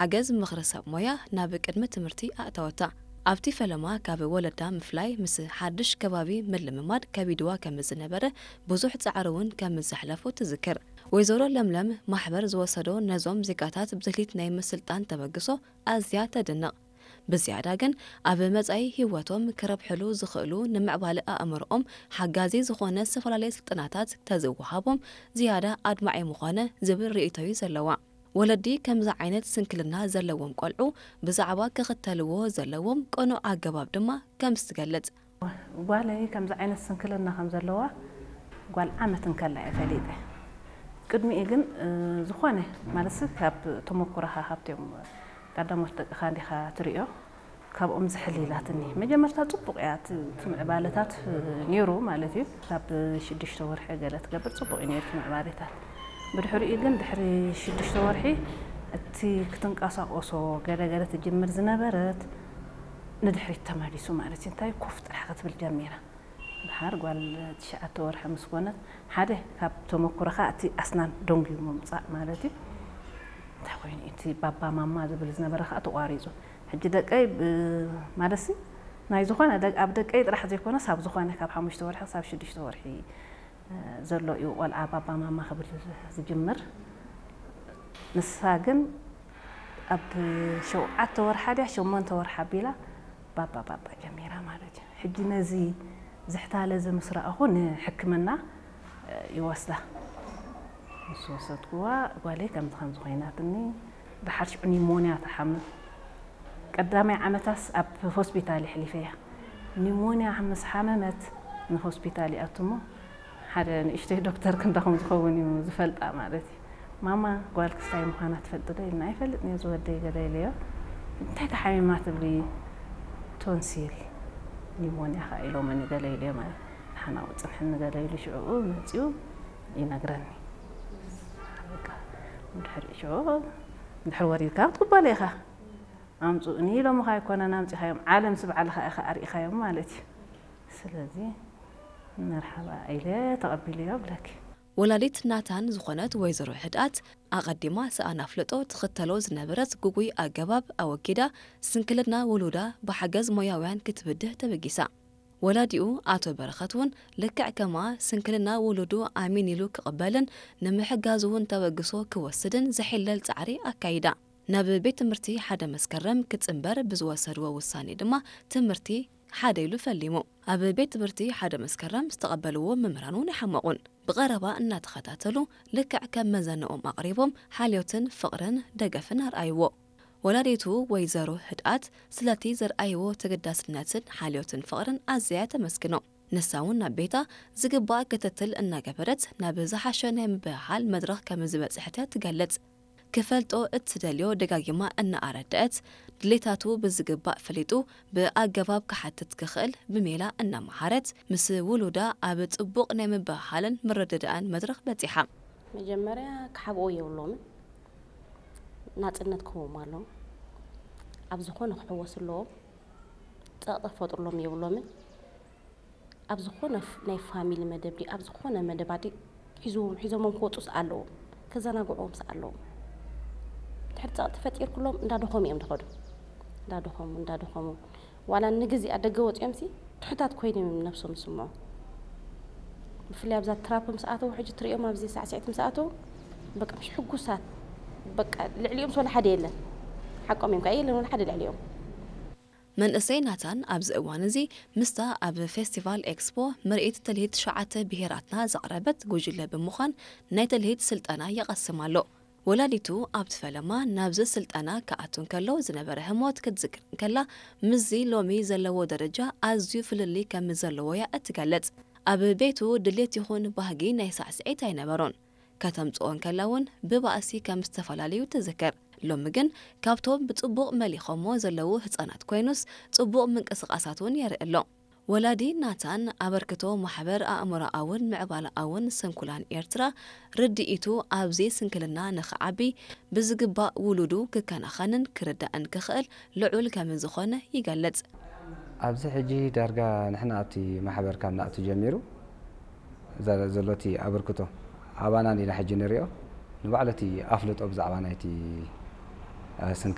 ሓገዝ ምኽሪ ሰብ ሞያ ናብ ቅድሚ ትምህርቲ ኣእተወታ። ኣብቲ ፈለማ ካብ ወለዳ ምፍላይ ምስ ሓድሽ ከባቢ ምልምማድ ከቢድዋ ከም ዝነበረ ብዙሕ ጻዕሪ እውን ከም ዘሕለፉ ትዝክር። ወይዘሮ ለምለም ማሕበር ዝወሰዶ ነዞም ዜጋታት ብድልሂት ናይ ምስልጣን ተበግሶ ኣዝያ ተድንቕ። ብዝያዳ ግን ኣብ መጻኢ ህይወቶም ክረብሕሉ ዝኽእሉ ንምዕባለ ኣእምሮኦም ሓጋዚ ዝኾነ ዝተፈላለየ ስልጠናታት ተዝወሃቦም ዝያዳ ኣድማዒ ምኾነ ዝብል ርእይቶ እዩ ዘለዋ። ወለዲ ከምዚ ዓይነት ስንክልና ዘለዎም ቆልዑ ብዛዕባ ክኽተልዎ ዘለዎም ቅኑዕ ኣገባብ ድማ ከምዚ ትገልጽ። ጓለይ ከምዚ ዓይነት ስንክልና ከም ዘለዋ ጓል ዓመት እንከላ እየ ፈሊጠ። ቅድሚኡ ግን ዝኾነ ማለትሲ ካብ ተመኩሮኻ ካብቲኦም ቀዳሞት ደቅኻ እንዲኻ ትሪኦ፣ ካብኦም ዝሕል ኢላትኒ። መጀመርታ ጽቡቕ እያ እቲ ምዕባለታት ነይሩ ማለት እዩ። ካብ ሽዱሽተ ወርሒ ገለ ትገብር ጽቡቕ እዩ ነይሩ እቲ ምዕባለታት። ብድሕሪኡ ግን ድሕሪ ሽዱሽተ ወርሒ እቲ ክትንቀሳቆሶ ገለ ገለ ትጅምር ዝነበረት ንድሕሪት ተመሊሱ ማለት እዩ። እንታይ ኮፍ ጥራሕ ክትብል ጀሚራ። ድሓር ጓል ትሽዓተ ወርሒ ምስ ኮነት ሓደ ካብ ተመኩሮኻ እቲ ኣስናን ደንጉዩ ምምፃእ ማለት እዩ። እንታይ ኮይኑ እቲ ባባ ማማ ዝብል ዝነበረ ከዓ ተቋሪፁ። ሕጂ ደቀይ ማለትሲ ናይ ዝኾነ ኣብ ደቀይ ጥራሕ ዘይኮነስ ኣብ ዝኾነ ካብ ሓሙሽተ ወርሒ ክሳብ ሽዱሽተ ወርሒ ዘሎ እዩ ቆልዓ ባባ ማማ ክብል ዝጅምር። ንሳ ግን ኣብ ሸውዓተ ወርሓ ድያ ሸሞንተ ወርሓ ኣቢላ ባባ ባባ ጀሚራ ማለት እዩ። ሕጂ ነዚ ዝሕታለ እዚ ምስ ረኣኹ ንሕክምና ይወስዳ። ምስ ወሰድኩዋ ጓለይ ከምዚ ከምዚ ኮይናትኒ፣ ድሓር ሽዑ ኒሞንያ ትሓምም። ቀዳማይ ዓመታስ ኣብ ሆስፒታል የሕሊፈያ። ኒሞንያ ምስ ሓመመት ንሆስፒታል ይኣትሞ ሓደ ንእሽተይ ዶክተር ክንዳኹም ዝኸውን እዩ ዝፈልጣ ማለት እዩ። ማማ ጓል ክስታይ ምዃና ትፈልጥ ዶ ኢልና። ኣይፈልጥን እየ ዝወደይ ገለ ኢለዮ። እንታይ ተሓሚማ ትብሊ? ቶንሲል ኒሞንያ ኸዓ ኢሎመኒ ገለ ኢለዮ ማለት። ንሓናው ፅንሕኒ ገለ ኢሉ ሽዕኡ መፅኡ ይነግረኒ። በቃ ድሕሪ ሽዑ ድሕሪ ወሪድካ ክትቅበሎ ኢኻ። ኣምፅኡኒ ኢሎምኻ ኣይኮነን ኣምፂኻዮም፣ ዓለምሲ ባዕልኻ ኢኻ ኣርኢኻዮም ማለት እዩ። ስለዚ መርሓባ ኢለ ተቐቢለዮ እብለኪ። ወላዲት ናታን ዝኾነት ወይዘሮ ህድኣት ኣቐዲማ ሰኣን ኣፍልጦ ትኽተሎ ዝነበረት ግጉይ ኣገባብ ኣወጊዳ ስንክልና ውሉዳ ብሓገዝ ሞያውያን ክትብድህ ተበጊሳ። ወላዲኡ ኣቶ በረኸት እውን ልክዕ ከማ ስንክልና ውሉዱ ኣሚን ኢሉ ክቕበልን ንምሕጋዝ እውን ተበግሶ ክወስድን ዘሒለል ጻዕሪ ኣካይዳ። ናብ ቤት ትምህርቲ ሓደ መስከረም ክጽንበር ብዝወሰድዎ ውሳኔ ድማ ትምህርቲ ሓደ ኢሉ ፈሊሙ። ኣብ ቤት ትምህርቲ ሓደ መስከረም ዝተቐበልዎ መምህራን እውን ኣይሓመቑን። ብቐረባ እናተኸታተሉ ልክዕ ከም መዘንኦም ኣቕሪቦም ሓልዮትን ፍቕርን ደገፍን ኣርኣይዎ። ወላዲቱ ወይዘሮ ህድኣት ስለቲ ዘርኣይዎ ተገዳስነትን ሓልዮትን ፍቕርን ኣዝያ ተመስግኖ። ንሳ እውን ናብ ቤታ ዝግባእ ክትትል እናገበረት ናብ ዝሓሸ ናይ ምብህሃል መድረኽ ከም ዝበፅሐት እያ ትገልጽ። ክፈልጦ እትደልዮ ደጋጊማ እናኣረደአት ድሌታቱ ብዝግባእ ፈሊጡ ብኣገባብ ክሓትት ክኽእል ብሜላ እናመሃረት ምስ ውሉዳ ኣብ ጽቡቕ ናይ ምብህሃልን ምርድዳእን መድረኽ በጺሓ። መጀመርያ ክሓብኦ የብሎምን፣ ናጽነት ክህቦም ኣለዎም። ኣብ ዝኾነ ክሕወሱ ኣለዎም። ጸቕጢ ክፈጥሩሎም የብሎምን። ኣብ ዝኾነ ናይ ፋሚሊ መደብ ድዩ ኣብ ዝኾነ መደብ ኣዲ ሒዞም ሒዞሞም ክወፁ ኣለዎም፣ ከዘናግዕዎም ኣለዎም። ድሕሪ ጸቕጢ ፈጢርኩሎም እንዳደኸሙ እዮም ዝኸዱ። እንዳደኸሙ እንዳደኸሙ ዋላ ንግዜ ኣብ ደገ ወፂኦም ሲ ትሑታት ኮይኖም እዮም ነብሶም ዝስምዑ። ብፍላይ ኣብዛ ትራፕ ምስ ኣተው ሕጂ ትሪኦም ኣብዚ ሳዕስዒት ምስ ኣተው በቃ ምሽ ሕጉሳት በቃ ልዕሊኦም ስለ ሓደ የለን። ሓቆም እዮም ከዓ የለን ወላ ሓደ ልዕሊኦም። መንእሰይ ናታን ኣብዚ እዋን እዚ ምስታ ኣብ ፌስቲቫል ኤክስፖ ምርኢት ትልሂት ትሽዓተ ብሄራትና ዘቕረበት ጉጅለ ብምዃን ናይ ትልሂት ስልጠና ይቐስም ኣሎ። ወላዲቱ ኣብቲ ፈለማ ናብዚ ስልጠና ክኣቱ እንከሎ ዝነበረ ህሞት ክትዝክር እንከላ ምስዚ ሎሚ ዘለዎ ደረጃ ኣዝዩ ፍልልይ ከም ዘለዎ እያ እትገልጽ። ኣብ ቤቱ ድሌት ይኹን ባህጊ ናይ ሳዕስዒት ኣይነበሮን። ከተምጽኦ እንከላ እውን ብባእሲ ከም ዝተፈላለዩ ትዝክር። ሎሚ ግን ካብቶም ብጽቡቕ መሊኾሞ ዘለዉ ህጻናት ኮይኑስ ጽቡቕ ምንቅስቓሳት እውን የርኢ ኣሎ። ወላዲ ናታን ኣበርክቶ ማሕበር ኣእምሮኣውን ምዕባለኣውን ስንኩላን ኤርትራ ርድኢቱ ኣብዚ ስንክልና ንኽዓቢ ብዝግባእ ውሉዱ ክከናኸንን ክርዳእን ክኽእል ልዑል ከም ዝኾነ ይገልጽ። ኣብዚ ሕጂ ዳርጋ ንሕና ኣብቲ ማሕበር ካብ ንኣቱ ጀሚሩ ዘሎ እቲ ኣበርክቶ ኣባና ኢና ሕጂ ንሪኦ። ንባዕሉ እቲ ኣፍልጦ ብዛዕባ ናይቲ